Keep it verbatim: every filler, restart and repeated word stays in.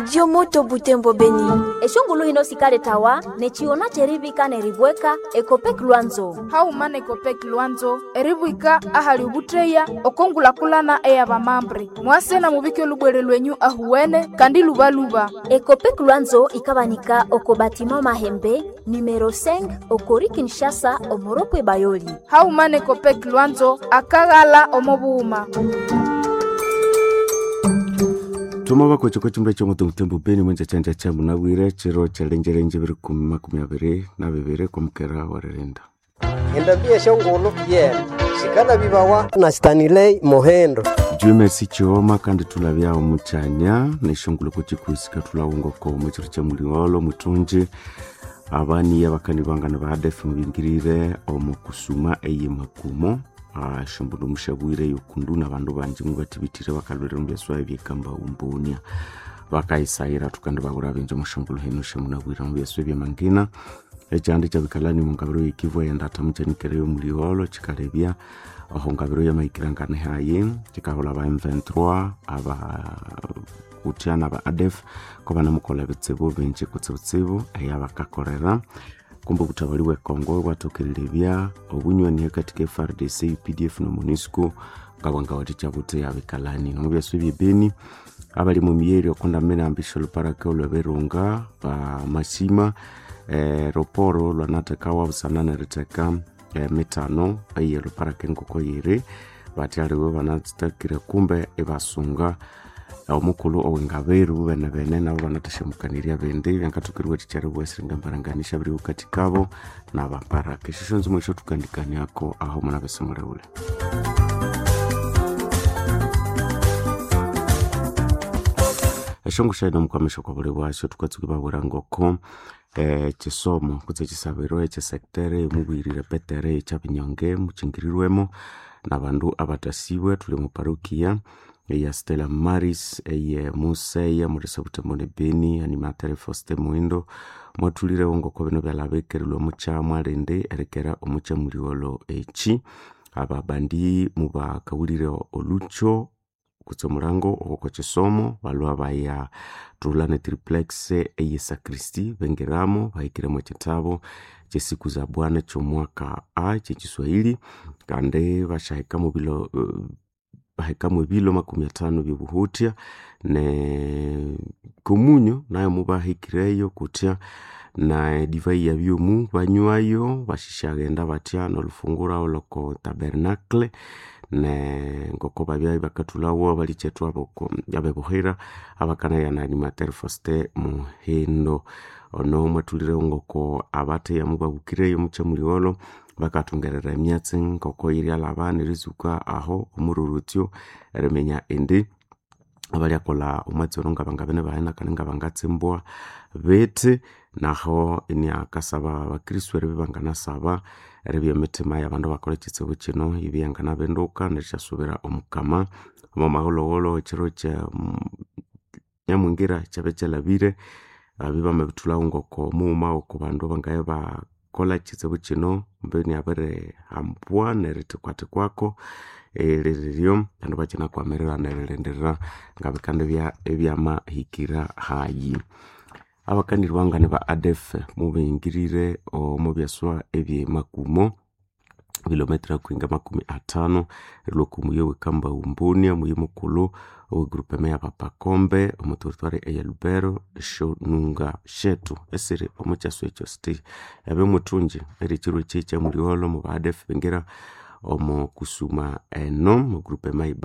Radio Moto Butembo Beni. Eshongulu hino sikaletawa nechiona cherivika neribweka Ekopek Lwanzo. Hauma nekopek Lwanzo eribwika ahali ubutreya okongulakulana eyabamambre mwase na mubike olubwere lwenyu ahuwene kandi lubaluba. Ekopek Lwanzo ikabanika oko batima Mahembe numero cinq okori Kinshasa omoropwe Bayoli. Hauma nekopek Lwanzo akaghala omobuuma. Tuma bakwece kwa chumba cha mutembo Beni mwenja chanja cha munabwire chiro chalenjelenje biri kumi makumi abiri na bibiri kumukera warerenda. Endambia shongolo yena sikala bibawa na Stanley Mohendo. Dieu merci chioma kandi tulabya omuchanya neshongolo kuchikuisika tulawungoko muchiro cha muliwolo mutunji abani abakani bangana ba A D F mubingirire omu kusuma eye makumo ashombuno mushabwire yokundu nabandu banji mubatibitire bakalwere mubyaswa ebyekamba umbunia bakaisayira tukandi babura benje mushongolo hino shemunabwira mubyaswa ebyamangina ekyandi kyabikalani mungabiro yekivwa yendata mukyanikireyo muliwolo kikalebya aho ngabiro yamaikirangane hayi kikahola ba M twenty-three aba kutya naba A D F ko banamukola bitsibu bingi kutsibutsibu eyabakakorera kumbe obutabali bwe Congo bwathokerelebya obunywani hakati ka F R D C, U P D F no MONUSCO ngabwangawathikya buthi abikalani nomubyaso ebyebeni abali mu miyeri okundamene ambisha oluparaka olweberunga ba mashima eh, roporo lwanathekawa busana neritheka eh, mitano eye luparaka engoko yiri bathi aliwe banathakire kumbe ibasunga omukulhu owengaberu bene bene nabo banathasyamukaniria bindi byangathokeriwa thikyari esiringa mbaranganisha biri wukati kabo nabaparaka esyo syonzimo esyo thukandikaniako aho munabese mulewule. Eshongo shaino mukwamisha kwa buli bwasyo tukatsuka babwira ngoko eh, chisomo kutse chisabiro echesektere mubwirire petere ekyabinyonge muchingirirwemo nabandu abatasiibwe tuli mu parokia eya Stella Maris eye Museya mulisa Butembo ne Beni animatere Foste Muindo mwathulirewo ngoko bino byalabekerilwe omucha mwalindi erekera omucha muliwolo eki ababandi mubakawulire olucho kutse omulango ogwoko kisomo balwa baya thulha ne triplex eye sakristi bengiramo bahikiremo ekitabo kyesiku za Bwana kyomwaka A kyekiswahili kandi bashahikamo bilo uh, bahikamu ebilo makumi atano byobuhutya ne komunyo nayo mubahikireyo kutya na divai ya byomu banywayo bashishaghenda batya nolufungura oloko tabernacle ne ngoko babya bakathulawo abalichethu aboko abebuhira abakanaya na animateur Foste Muhindo ono mwathulirewo ngoko abatheya mubabukireyo muchamuliwolo bakathungerera emyatsi ngoko yiryalaba nerizuka aho omururutyo eriminya indi abalyakolha omwatsi ono ngabangabene bahena kandi ngabangatsimbwa bethi naho iniakasaba abakristu eribya banganasaba eribya emitima yabandu bakolha ekitsibu kino ibya yanganabinduka nerisyasubira omukama omo mahulhughulhu ekiro kya nyamwingira kyabya kyalhabire ababya bamabithulhawo ngoko mughuma oko bandu bangabya bakolha ekitsibu kino mbeni abirihambwa nerithikwathikwaku eririryo abandu bakyinakwamirirana neririndirira ngabikandibya ebyamahikira hayi. Abakanirwangane ba A D F mubingirire omu byaswa ebyemakumo kilometra kwinga makumi atano erilwa omuyi owekamba umbunia omuyi mukulhu owe group ya Bapakombe omu territoire eya Lubero eshonunga shetu esiri omu kyaswa ekyo state ebe muthungi eri ekiro eki ekyamuliwolo mu ba A D F bingira omu kusuma eno mu group